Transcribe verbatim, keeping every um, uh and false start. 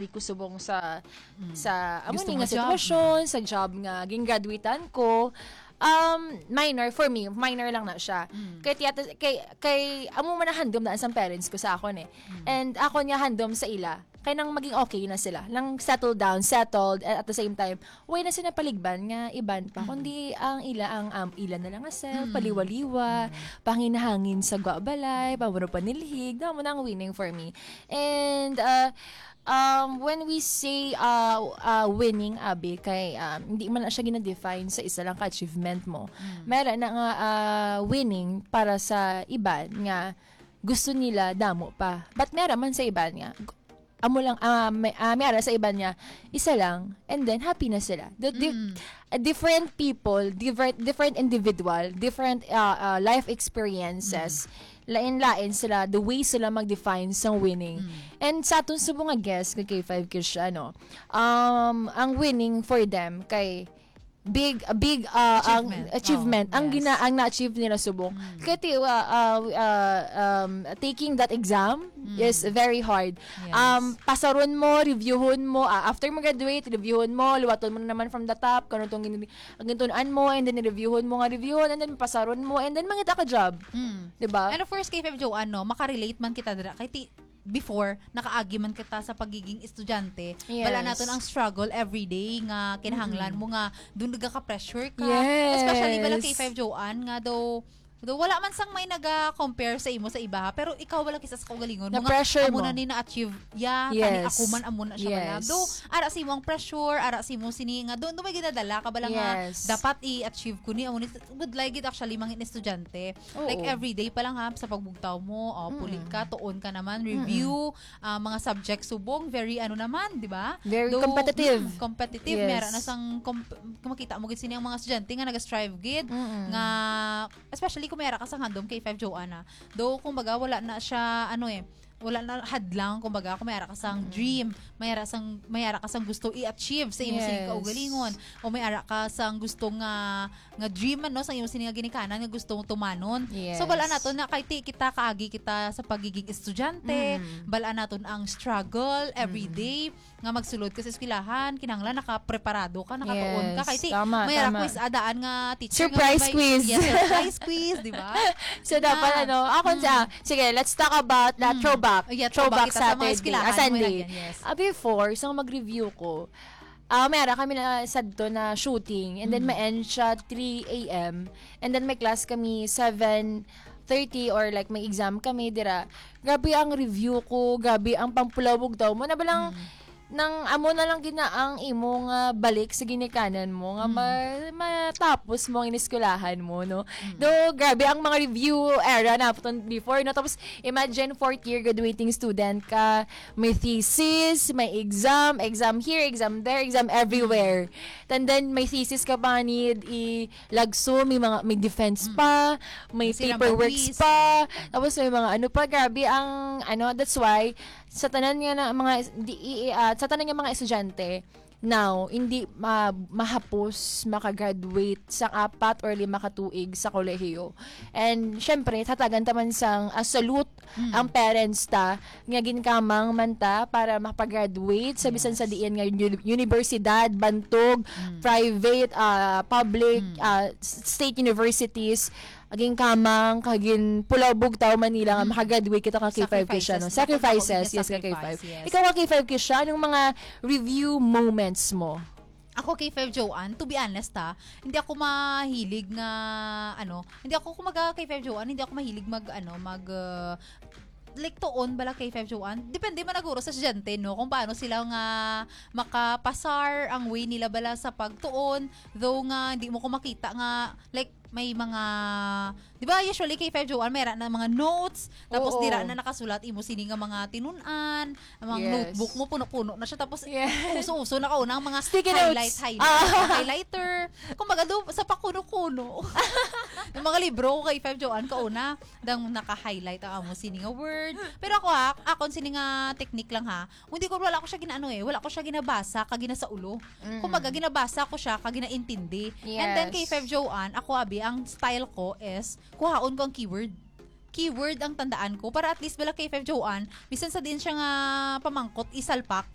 ko subong sa, Mm. sa amo Gusto ni mo nga job. sitwasyon, sa job nga gingraduatean ko. Um, minor for me, minor lang na siya. Mm. Kay tiyata-, kay, kay amo man ang handom na sa parents ko sa akon eh. Mm. And ako niya handom sa ila. Kay nang maging okay na sila, nang settle down, settled, and at the same time, way na sila paligban nga iban pa, Mm. kundi ang ila, ang, um, ila na lang nga self, Mm. paliwaliwa, Mm. panginahangin sa gwa balay, pamuro panilhig, na mo na ang winning for me. And, uh, um, when we say, uh, uh, winning, abi, kay, um, hindi man na siya gina-define sa isa lang ka achievement mo. Mm. Meron na nga, uh, winning para sa iban nga gusto nila damo pa. But meron man sa iban nga, gu-, amo lang, ah, may, ah, may ara sa iban nga, isa lang, and then happy na sila. The di-, Mm. ah, different people, different, different individual, different, ah, ah, life experiences, Mm. lain-lain sila, the way sila mag-define sang winning. Mm. And sa atong subong nga guest nga K five Kish, ano, um, ang winning for them kay big, a big, ah, ang Achievement. achievement, Oh, ang yes. gina-, ang na-achieve nila subong. Mm. Kay ti-, ah, ah, ah, um, taking that exam Mm. is very hard. Yes. Um, pasaron mo, reviewon mo, ah, after mo graduate, reviewon mo, liwaton mo na naman from the top, kano tong gin-, ang gintunan mo, and then reviewon mo nga reviewon, and then pasaron mo, and then mangita ka job. Mm. Diba? And of course, K five Joanne, no, makarelate man kita dira. Kay ti-, before, nakaagi man kita sa pagiging estudyante. Yes. Bala naton ang struggle every day nga kinahanglan Mm-mm. mo nga doon nagaka-pressure ka. Yes. Especially bala K five Joanne nga daw, daw wala man sang may naga-compare sa imo sa iba, ha? Pero ikaw wala kisa sa kaugalingon mo nga Na-pressure amo mo. na ni na-achieve. Yeah, kani Yes. ako man amo na siya bala. Yes. Daw, ara sa imo ang pressure, ara sa imo sini nga doon, doon may ginadala ka bala nga Yes. dapat i-achieve ko ni amo ni good lagi actually mga estudyante. Oo. Like, everyday pa lang, ha, sa pagbugtaw mo, oh, puli Mm. ka, tuon ka naman, Mm-mm. review, ah, mga subject subong, very ano naman, di ba? Very Though, competitive. mm, competitive. Yes. May ara na sang comp-, kung makita mo gid sini ang mga estudyante nga nag-strive gid, Mm-mm. nga, especially kung may ara ka sa handom K five Joanne, ah. Though, kumbaga, wala na siya, ano eh, wala na hadlang, kumbaga, kung may ara ka sang Mm-mm. dream, may ara sang, may ara ka sang gusto i-achieve sa imo sini Yes. kaugalingon, o may ara ka sang gusto nga nga dream man, no, sa imo sini nga ginikanan nga gusto mong tumanon. Yes. So, bal-an naton na kay ti-, kita kaagi kita sa pagiging estudyante, Mm. bal-an naton ang struggle every Mm. day nga magsulod ka sa eskwelahan, kinahanglan nakapreparado ka, nakatuon ka. Yes, Kay ti-, tama, may tama. request adaan nga teacher nga Surprise may, quiz. yes, surprise quiz, di ba? So, dapat, Ah. ano, ako Mm. sa, sige, let's talk about the Mm. throwback. Oh, yeah, Throwback throwback kita sa mga Saturday. eskwelahan Ah, mo Sunday. yan, yes. Ah, before, sa mag-review ko, Ah, may ara kami na sadto na shooting, and then Mm. ma-end siya three A M, and then may class kami seven thirty or, like, may exam kami dira. Grabe ang review ko, grabe ang pampulawog daw mo. Na balang Mm. nang amo na lang gina ang imo nga balik sa ginikanan mo nga Mm. ma-, matapos mo ang iniskwelahan mo, no? Mm. Though, grabe ang mga review era na before, no? Tapos, imagine fourth year graduating student ka, may thesis, may exam, exam here, exam there, exam everywhere. And then may thesis ka pa need ilagso, may mga, may defense Mm. pa, may May silang paperworks pawis. pa, tapos may mga ano pa, grabe ang ano, that's why sa tanan nga na mga di, i, i, ah, sa tanan nga mga estudyante, now, hindi ma-, mahapos makagraduate sa apat or lima ka tuig sa kolehiyo. And, syempre, tatagan taman sang, ah, salute Mm. ang parents ta, nga ginkamang man ta para makagraduate sa bisan sa Yes. diin nga uni-, universidad, bantog, Mm. private, ah, public, Mm. ah, s-, state universities. Ginkamang, kag ginpulawbog taw man nila nga Mm. makagraduate kita ka K five K siya, no? Sacrifices. Sacrifices, Yes, yes, ka K five. sacrifice, yes. Ikaw ka K five K siya, anong mga review moments mo? Ako, K five Joanne, to be honest, ha, hindi ako mahilig nga, ano, hindi ako, kumaga, K five Joanne, hindi ako mahilig mag, ano, mag, uh, like, tuon bala, K five Joanne. Depende man naguro sa estudyante, no, kung paano sila nga makapasar ang way nila bala sa pagtuon. Though nga, hindi mo ko makita nga, like, may mga, di ba, usually, K five Joanne, may ra na mga notes, tapos Oo. dira na nakasulat imo sini nga mga tinun-an, ang mga Yes. notebook mo, puno-puno na siya. Tapos, Yes. uso-uso na kauna ang mga Sticky highlight, notes. highlight, Ah. mga highlighter. Kumbaga, do, sa pakuno-kuno. Yung mga libro ko kay Five Joanne, kauna, dang naka-highlight ang amo sini nga word. Pero ako, ha, akon sini nga technique lang, ha. Hindi ko, wala ko siya ginaano eh. Wala ko siya ginabasa, kag ginasaulo. Mm. Kumbaga, ginabasa ko siya, kag ginaintindi. And then, Yes. kay Five Joanne, ako, abi, ang style ko is, kuhaon ko ang keyword. Keyword ang tandaan ko para at least bala kay Five Joanne, bisan sa diin siya nga pamangkot, isalpak,